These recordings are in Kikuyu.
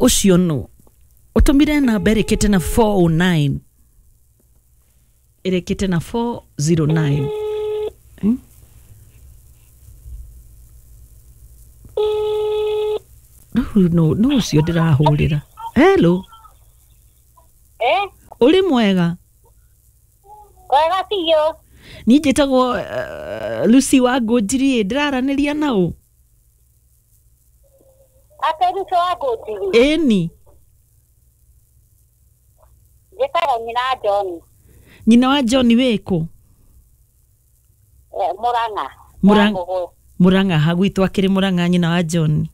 Ũcio nũ ũtũmire namba ĩrĩkĩte na 409, ĩrĩkĩte na 409. Hmm? Rĩu no ũcio ndĩrahũrĩra. Hello. Eh? Ũrĩ mwega? Wega biũ. Niĩ njĩtagwo Lucy wa Ngũnjiri, ndĩraranĩria na ũ? Ate Lucy wa Ngũnjiri? Ĩni. Njĩtagwo nyina wa John. Nyina wa John wĩkũ? Mũrang'a. Mũrang'a. Mũrang'a, ha gwitũ akĩrĩ Mũrang'a nyina wa John.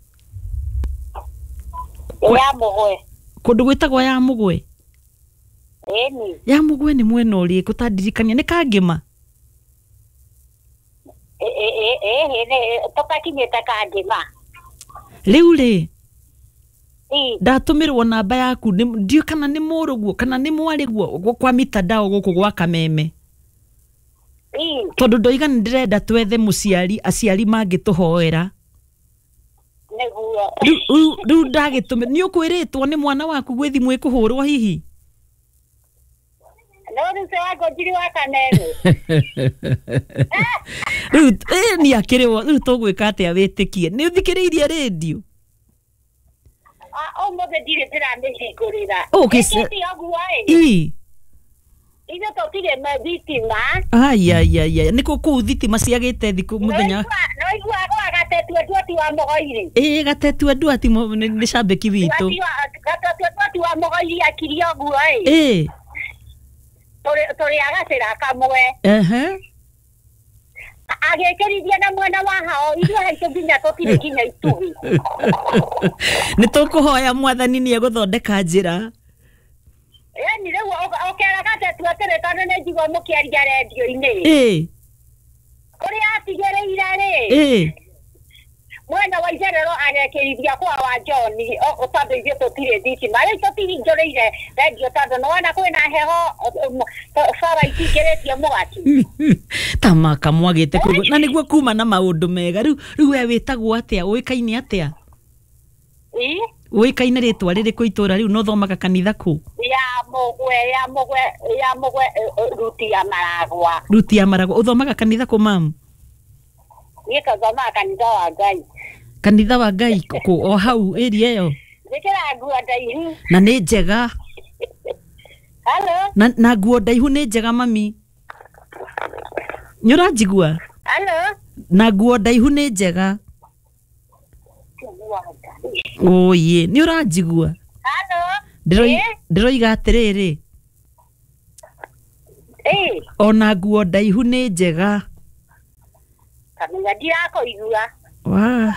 Ya Mũgwe. Kũndũ gwĩtagwo ya Mũgwe? Ĩni. Ya Mũgwe nĩ mwena ũrĩkũ ta ndirikania, nĩ Kangĩma? Ĩĩ, tũtakinyĩte Kangĩma. Rĩu rĩ, ndatũmĩrwo namba yaku, ndiũĩ kana nĩ mũrũguo kana nĩ mwarĩguo kwa mitandao gũkũ gwa Kameme. Tondũ ndoiga nĩ ndĩrenda twethe mũciari, aciari mangĩtũhoera. Nĩguo. Rĩu ndagĩtũmĩrwo, nĩ ũkwĩrĩtwo nĩ mwana waku gwĩ thimũ ĩkũhũrwo hihi? No Lucy wa Ngũnjiri wa Kameme. Rĩu nĩ akĩrĩ rĩu tũgwĩka atĩa wĩtĩkie? Nĩ ũthikĩrĩirie rĩndiũ? Ũmũthĩ ndirĩ ndĩramĩhingũrĩra. Okay, ĩ. Ithuĩ tũtirĩ thitima. Ai ai ai, nĩ kũ kũu thitima ciagĩte thikũ mũthenya. No igua gwa Gatetue Nduati wa Mũgoiri. Ĩĩ, Gatetue Nduati nĩ cambĩki witũ. Gatetue Nduati wa Mũgoiri akirie ũguo ĩ. Ĩĩ. Tũrĩ agacĩra kamwe. Ehe. Agĩkĩrithia na mwena wa hao, ithuĩ haitũ nginya tũtirĩ nginya itugĩ. Nĩ tũkũhoya mwathani nĩ egũthondeka njĩra. Yaani rĩu ũkera Gatetue atĩrĩ, tondũ nĩ njigua mũkĩaria rendio-inĩ. Ĩĩ. Ũrĩa atigĩrĩire rĩ. Ĩĩ. Mwena wa Icerero agekĩrithia kwa wa John, tondũ ithuĩ tũtirĩ thitima. Rĩu tũtihingũrĩire rendio tondũ nĩwona kwĩna heho, bara itingĩrĩtie mwaki. Ta maka mwagĩte kũigua. Na nĩguo kuma na maũndũ mega. Rĩu we wĩtagwo atĩa? Ũĩkaine atĩa? Ũĩkaine rĩtwa rĩrĩkũ itũra rĩu na ũthomaga kanitha kũ? Ya Mũgwe, ya Mũgwe, ya Mũgwe, Ruti ya Maragwa. Ruti ya Maragwa. Ũthomaga kanitha kũ mamu? Niĩ kathomaga kanitha wa Ngai. Kanitha wa Ngai kũ o hau area ĩyo? Njĩkĩraga nguo ndaihu. Na nĩ njega. Hello? Na nguo ndaihu nĩ njega mami. Nĩ ũranjigua? Hello? Na nguo ndaihu nĩ njega. Oye, nĩ ũranjigua? Hello? Ndĩroiga atĩrĩrĩ. Ona nguo ndaihu nĩ njega. Kamenya ndirakũigua. Wa.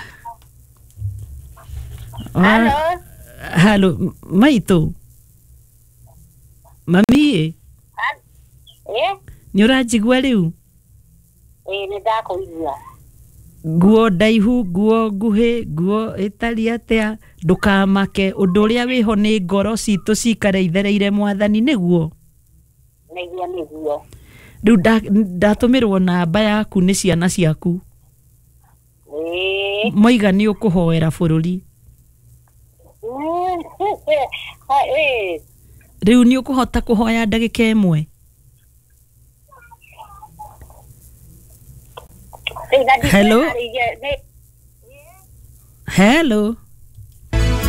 Hello? Hello, maitũ. Mami. Nĩ ũranjigua rĩu? Ĩĩ, nĩ ndakũigua. Nguo ndaihu, nguo nguhĩ, nguo ĩtariĩ atĩa, ndũkamake, ũndũ ũrĩa wĩho nĩ ngoro citũ cikare ithereire mwathani, nĩguo? Nĩguo, nĩguo. Rĩu ndatũmĩrwo namba yaku nĩ ciana ciaku. Moiga nĩ ũkũhoera bũrũri. Rĩu nĩ ũkũhota kũhoya ndagĩka ĩmwe? Hello? Hello?